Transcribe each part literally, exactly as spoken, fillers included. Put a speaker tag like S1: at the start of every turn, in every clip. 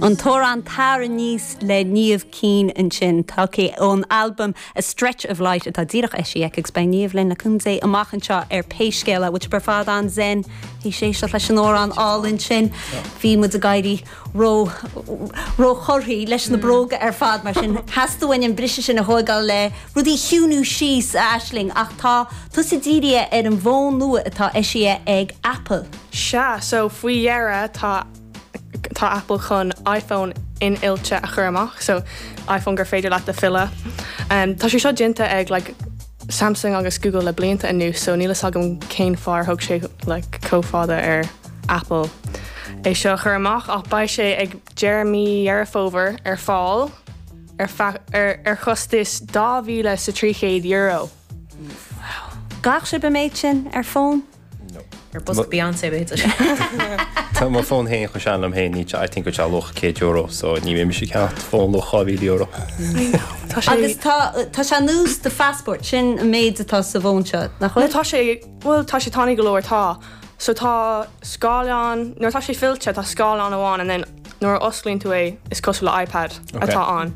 S1: An t-amhrán Tar Aníos le Niamh Keane ansin tagtha ón albam A Stretch of Light atá díreach eisithe aici agus beidh Niamh linn le cúnamh Dé amach anseo ar pé scéal é which ar fad an-zen hí sé seo leis an amhrán álainn sin bhí muid ag éirí ró róchorraithe leis na bróga ar fad mar sin theastaigh uainn an briseadh sin a thógáil le rudaí a chiúnú síos a Aisling ach tá tusa dírithe ar an bhfón nua atá eisithe ag Apple.
S2: Sea, so faoi dheireadh tá tá Apple chun iPhone infhillte a chur amach, so iPhone gur féidir leat a fhilleadh. Um, tá sé seo déanta ag like, Samsung agus Google le blianta anuas, so níl a fhios agam cén fáth ar thóg sé like, chomh fada ar Apple. É seo chur amach ach beidh sé ag deireadh mí Dheireadh Fómhair ar fáil ar, ar, ar chostas dhá mhíle sa trí chéad euro.
S1: Gach sé méid sin ar fón?
S3: Ar bus Beyoncé b'fhéidir.
S4: Tá mo fón féin chomh sean liom féin ní I think go luach céad euro, so ní mé sé ceann fón luach dhá mhíle euro.
S1: Agus tá tá sé nós do phassport sin an méid atá sa bhfón seo nach bhfuil?
S2: Tá sé well tá sé tanaí go leor tá. So tá scáileán nuair tá sé fillte tá scáileán amháin and then nuair a osclaíonn tú é is cosúil le iPad atá ann.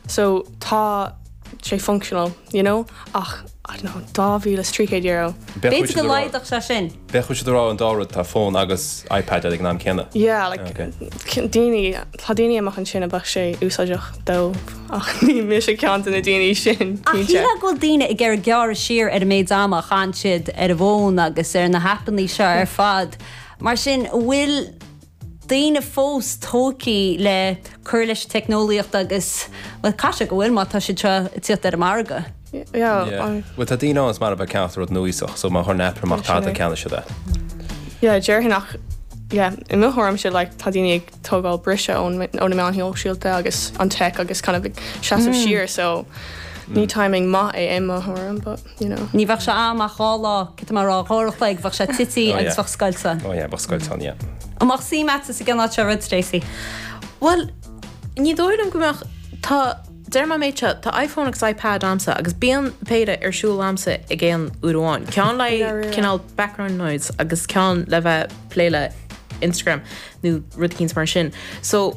S2: So tá sé functional, you know, ach I don't know, dá mhíle is trí chéad euro.
S1: B'fhéidir go laghdódh sé sin.
S4: Bheadh siad rá an dá rud tá fón agus iPad ag an am céanna.
S2: Yeah, like daoine tá daoine amach ansin a bheadh sé úsáideach dó ach ní mise ceann de na daoine sin.
S1: Ach shílfeá go bhfuil daoine ag iarraidh gearradh siar ar an méid ama a chaitheann siad ar an bhfón agus ar na haipeanna seo ar fad. Mar sin bhfuil daoine fós tógtha le cur leis an teicneolaíocht agus well caithfidh go bhfuil má tá siad seo ag tíocht ar an margadh.
S2: Yeah.
S4: Well tá daoine ann is mar a bheith ceann rud núíosach, so má chuireann Apple amach tada ceann siad é.
S2: Yeah, déarfainn ach yeah, i mo thuairimse like, tá daoine ag tógáil briseadh ón ó na meáin shóisialta agus an tech agus kind of ag seasamh siar so ní timing maith é i mo thuairim, but you know.
S1: Ní bheadh sé amach dhá lá cé mar rá dhá chloig bheadh sé tite agus bheadh scoilt ann.
S4: Oh yeah, bheadh scoilt ann, yeah.
S1: An mbeadh suim agat sa gceann seo rud Stacey?
S3: Well, ní dóigh liom go mbeadh tá deir má méid seo tá iPhone agus iPad agamsa agus bíonn péire ar siúl agamsa ag aon uair amháin. Ceann le cineál background noise agus ceann le bheith plé le Instagram nó rud éicint mar sin. So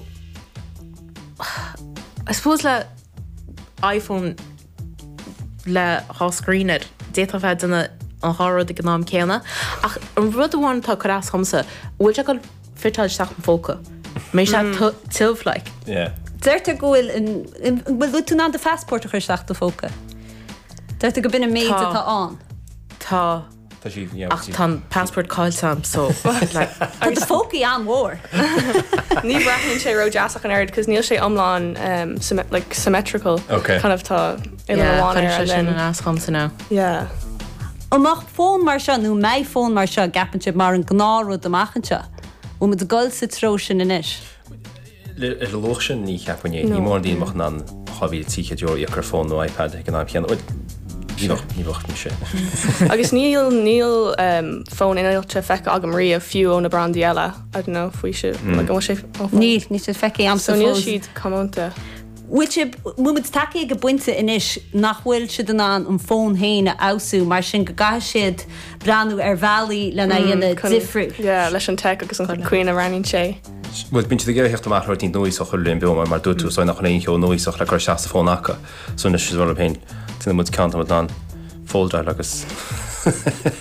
S3: I suppose le iPhone le dhá screen air d'fhéadfá bheith déanamh an dhá rud ag an am céanna ach an rud amháin atá ag cur as domsa bhfuil sé ag fiteáil isteach an phóca. Mé sé tiubh like.
S4: Yeah.
S1: Deirtear go bhfuil bhfuil tú in ann do phassport a chur isteach do phóca. Deirtear go b'in an méid
S3: Tá.
S1: atá ann.
S3: Tá
S4: Tá sí yeah,
S3: ach tá an passport caillte agam so like,
S1: Tá do phócaí an-mhór.
S2: Ní bhreathnaíonn sé ró-deas ach an oiread, cos níl sé iomlán um, symmet like, symmetrical.
S4: Okay.
S2: Kind of tá uile
S3: yeah,
S2: amháin
S3: chuir
S2: air
S3: sé
S2: and
S3: sin
S2: then
S3: an as dhomsa now.
S2: yeah.
S1: An mbeadh fón mar seo nó mbeidh fón mar seo gceapann sibh mar an gnáthrud amach anseo. Bhfuil muid ag dul sa treo sin anois.
S4: Le ar an luach sin ní cheapaim é. Ní mór daoine amach an dhá mhíle trí chéad euro íoc ar fón nó iPad ag an am chéanna. Ní bheadh ní bheadh mise.
S2: Agus níl níl um, fón infhillte feicthe agam riamh fiú ó na brandaí eile. I don't know faoi si like, an bhfuil sé ó fón?
S1: Níl ní sé feicthe agamsa
S2: So níl
S1: fós.
S2: siad comónta.
S1: Bhfuil sibh bhfuil muid tagtha ag an bpointe anois nach bhfuil siad in ann an fón féin a fheabhsú mar sin go gcaithfidh siad breathnú ar bhealaí lena dhéanamh difriúil.
S2: Yeah, leis an tech agus an chaoi a roghnaíonn sé.
S4: Well bíonn siad ag iarraidh amach rudaí núíosach chuir linn beo mar mar dúirt tú so nach aon cheo núíosach le cur isteach sa fón acu. So anois is rud féin tine muid ceann muid an foldáil agus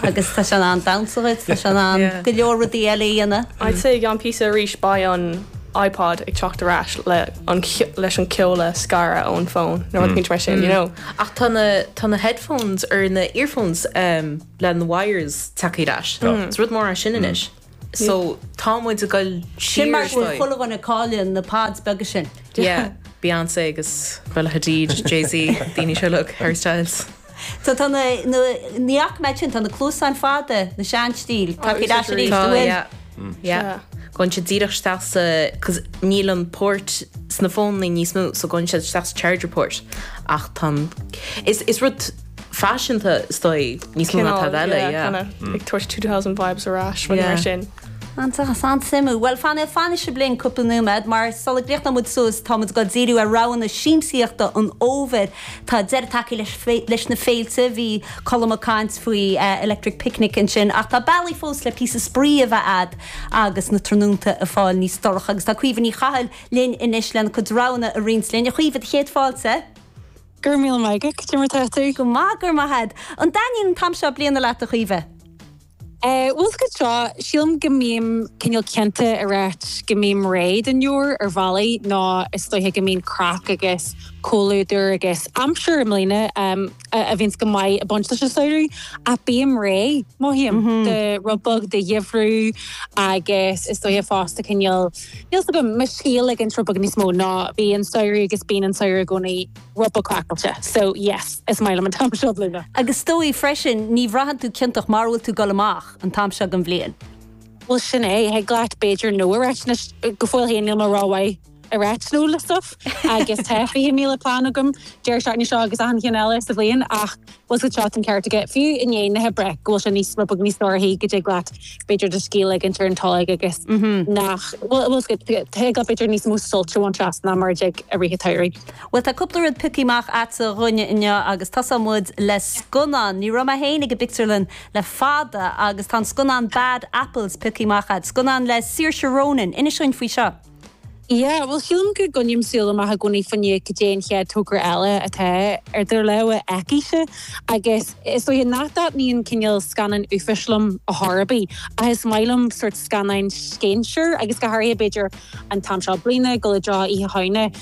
S1: Agus tá sé an damhsa tá sé an
S3: Yeah.
S1: go leor rudaí eile a dhéanamh.
S2: I'd say gan píosa arís beidh an iPod ag teacht ar ais le an leis an ceol a scaradh ón fón nó rud mar sin, you know.
S3: Ach tá na tá na headphones ar na earphones um, le na wires tagtha ar ais. Is rud mór é sin anois. So tá muid ag dul
S1: Sin mar
S3: siar
S1: go bhfuil chuile dhuine ag cailleadh na pods beaga sin.
S3: Yeah, Beyonce agus Bella Hadid, Jay-Z, daoine seo look, Harry Styles.
S1: So tá na ní ach me sin tá na cluasáin fada na sean-stíl Tá
S2: úsáid
S1: arís
S2: arís.
S3: Tá,
S1: bhfuil.
S3: yeah. Yeah. Gabhann sé díreach isteach sa cos níl an port sna fónaí níos mó so gabhann sé isteach sa charger port ach tá is is rud faiseanta is dóigh níos mó ná tada eile, yeah.
S2: Kind of ag tabhairt two thousand vibes ar ais rud
S3: Yeah.
S2: mar sin.
S1: An-suimiúil. Well fan fan se blion cúpla nóiméad mar sula gcríochnóidh muid suas tá muid ag díriú ar roghanna siamsaíochta an fhómhair Tá deireadh tagtha leis na féilte bhí Colm ag caint faoi uh, Electric Picnic ansin ach tá bealaí fós le píosa spraoi a bheith agat agus na tráthnónta ag fáil níos dorcha agus tá Caoimhe Ní Chathail linn anois lena cuid roghanna a roinnt linn a Chaoimhe céad fáilte.
S5: Gur mí maige mar tú
S1: go maith gur maith. An dtaitníonn an t-am seo bliana leat a Chaoimhe?
S5: Bhfuil go seo sílim go mbím cineál cinnte a rá go mbím réidh don fhómhar ar bhealaí ná is dóiche go mbíonn craic agus comhluadar agus aimsir i mbliana a bhíonns go maith ag baint leis an samhradh a bím réidh mothaím de rud beag de gheimhreadh agus is dóiche fosta cineál Níl go me scéal ag an rud beag níos mó ná bhí an samhradh agus bíonn an samhradh i gcónaí rud beag craiceáilte. So yes, is maith liom an t-am seo bliana.
S1: Agus is dóigh freisin ní bhraitheann tú ciontach mar bhfuil tú dul amach an t-am seo den bhliain.
S5: Well sin é thig leat b'fhéidir no a rá go fóill féin níl mé rómhaith ag rá no le stuff agus tá fiche míle plean agam deireadh seachtaine seo agus an cheann eile sa bhliain ach was go seo an ceart aige fiú i ndiaidh na hoibre go bhfuil sé níos rud beag níos dorchaí go dtig leat b'fhéidir do scíth a ligint ar an tolg agus nach bhfuil go b'fhéidir níos mó sult a bhaint as ná mar ag a ríthe tairí.
S1: Well tá cúpla rud pioctha amach agat dúinne inniu agus tosóidh muid le scannán, Ní raibh mé féin ag an bpictiúrlann le fada agus tá scannán Bad Apples pioctha amach agat, scannán le Saoirse Ronan, inis dúinn faoi seo.
S5: Ja, well sílim go gcoinním súil amach i gcónaí fá choinne cad é an chéad togra eile atá ar idir lámha aici agus is dóiche nach dtaitníonn cineál scannán uafáis liom a tharbaí a is maith liom sort scannáin scéinséir agus go háirithe b'fhéidir an t-am seo bliana go le dra ihe haine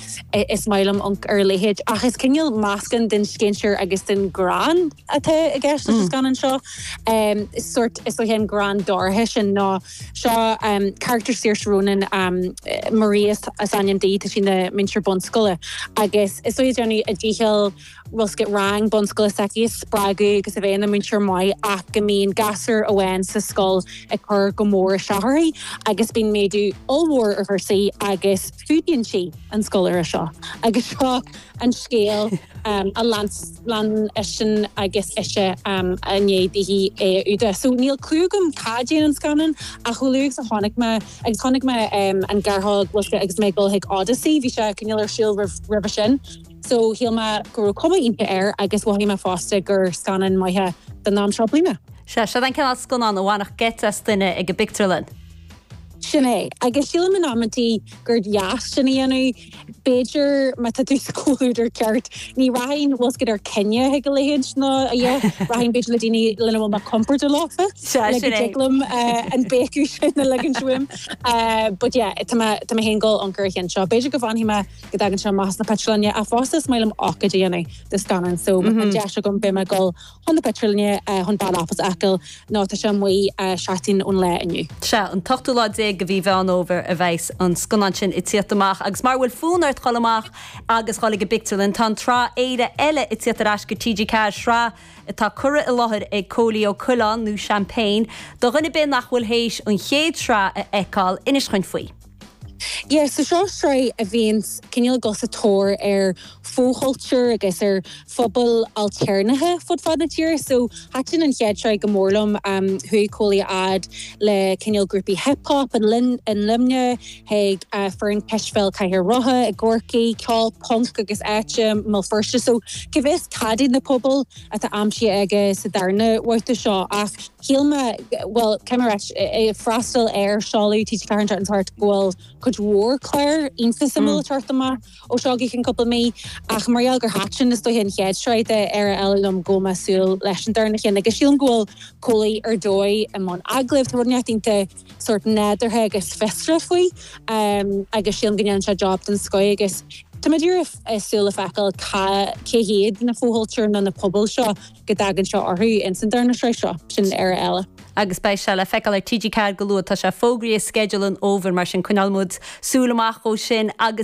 S5: is maith liom amharc ar a leithéid ach is cineál meascán den scéinséir agus den greann atá i gceist leis an scannán seo. Um, sort is dóiche an greann dorcha sin ná seo um, character Saoirse Ronan um, Maria is ainm di tá sí ina múinteoir bunscoile agus is í déanamh a dícheall rosca rang bunscoile s'aici spreagadh agus a bheith ina múinteoir maith ach go mbíonn gasúr amháin sa scoil ag cur go mór isteach uirthi agus bíonn méadú ollmhór ar chúrsaí agus fuadaíonn sí an scoláire seo. agus seo an scéal um, a lean lean sin agus ise um, a ndéadaí é úda. So níl clue agam cad é an scannán a chuú a tháinig me agus tháinig me um, an gearrthóg agus mé dul chuig Odyssey, bhí sé cineál ar siúl roimhe sin. So shíl mé go raibh cuma iontach air agus mhothaigh mé fosta gur scannán maith don am seo bliana.
S1: Se se an cineál scannán a bhainfeadh geit as duine ag an bpictiúrlann.
S5: Sin é agus sílim in amantí gur dheas sin a dhéanamh b'fhéidir má tá tú sa chomhluadar ceart ní rachainn bhfuil go ar cinenne go leithéid ná a rachainn b'fhéidir le daoine lena bhfuil mé compordach leofa le an bécu sin na legan swim. But yeah, tá mé ag dul amharc ar an cheann seo. B'fhéidir go bhfanfaidh mé go dtagann sé amach sna pictiúrlanna a fosta is maith liom ócáid a dhéanamh de scannán, so mm -hmm. deis agam beidh mé ag dul chun na pictiúrlainne chun Bad Apples a fheiceáil nó tá sé amuigh seachtain ón lá inniu.
S1: Se an t-ochtú lá déag de mhí Mheán Fómhair a bheas an scannán sin ag tíocht amach agus mar bhfuil fonn ort dul amach agus dul ag an bpictiúrlann tá tsraith Éire eile ag tíocht ar ais go TG Ceathair sraith atá curtha i láthair ag Cóilí Ó Coileáin nó Champagne, do dhuine ar bith nach bhfuil théis an chéad sraith a fheiceáil inis dúinn faoi.
S5: Yeah, so seo sraith a bhíonn cineál ag dul sa tóir ar fhochultúr agus ar phobal ailtéarnacha fud fad na tíre, so thaitin an chéad sraith go mór liom um, chuaigh Cóilí fhad le cineál grúpaí hip-hop in lin in Luimneach chuig uh, foireann cispheil Cathair Rátha i gCorcaigh, ceol punk agus áite mé Feirste, so cá bhfios cad iad na pobail atá aimsithe aige sa darna babhta seo ach shíl mé well ceir freastal ar seoladh TG Ceathair an tart go bhfuil cuid mhór clár iontach suimiúil ag teacht amach ó seo go ceann cúpla mí ach mar gheall gur thaitin is dóiche an chéad sraith de Éire Eile liom go mbeidh súil leis an darna ceann agus sílim go bhfuil Cóilí ar dóigh i mbun agallaimh tá rud iontach sort nádúrtha agus fiosrach faoi um, agus sílim go ndéanann sé job den scoth agus Tá mé ag súil le feiceáil cé hiad na fochultúir nó na pobail seo go dtagann seo orthu in san darna sraith seo sin Éire Eile.
S1: Agus beidh sé le feiceáil ar TG Ceathair go luath tá sé fógraithe i sceideal an fhómhair mar sin coinneoidh muid súil amach dó sin agus